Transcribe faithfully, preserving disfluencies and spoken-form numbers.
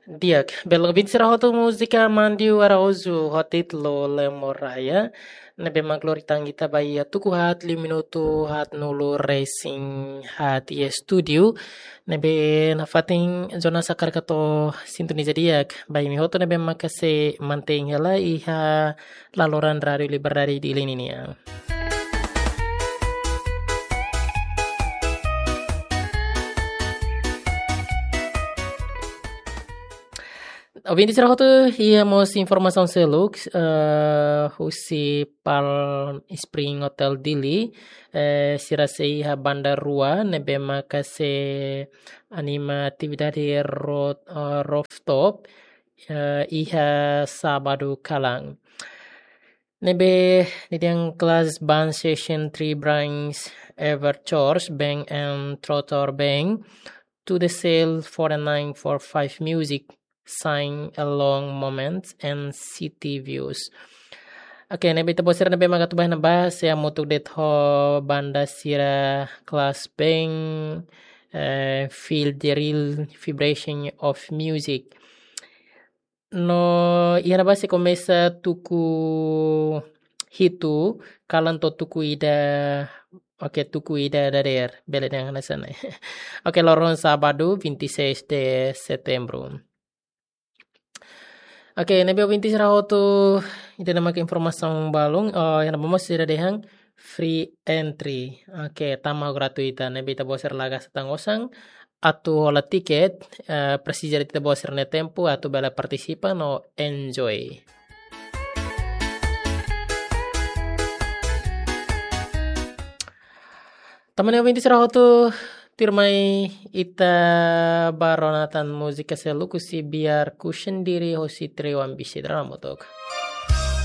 Di'ak, bele ouvinte sira hotu, múzika Mandio Araújo ho títulu Lemo Raya. Ne'ebé mak lori tan ita ba iha tuku haat liu minutu haatnulu-resin-haat iha estúdiu. Ne'ebé nafatin jornál sira karik atu sintoniza di'ak ba imi hotu ne'ebé maka sei mantein hela iha laloran Rádio Liberdade Dili nian. Ouvinte sira hotu, iha mós informasaun seluk, eh, husi Palm Spring Hotel Dili, eh, sira sei iha banda rua, ne'ebé maka sei anima atividade ro-, eh, rooftop, eh, iha sábadu kalan. Ne'ebé nia dehan class band session three brands, Everchorch Band and Trotor Band, To The Cell four nine four five Music, Sing Along Moments and City Views. Oke, ne'ebé ita-boot sira ne'ebé mak atu bá iha ne'ebá, sei hamutuk de'it ho banda sira class band, eh, Feel the Real Vibration of Music. No iha ne'ebá sei komesa tuku hitu, kalan to'o tuku ida, oke, tuku ida dadeer, bele dehan hanesan ne'e. Oke, loron sábadu, vinte e seis de setembro. Oke, ne'ebé ouvinte sira hotu, ida-ne'e mak informasaun balun, oh, iha ne'ebá mós sira dehan free entry. Oke, tama gratuita, ne'ebé ita-boot sira la gasta tan osan atu hola tiket, eh, presiza de'it ita-boot sira-nia tempu atu bele partisipa no enjoy. Tanba ne'e ouvinte sira hotu, tuirmai ita bá rona tan múzika seluk husi Biar Ku Sendiri husi Trio Ambisi, dala hamutuk.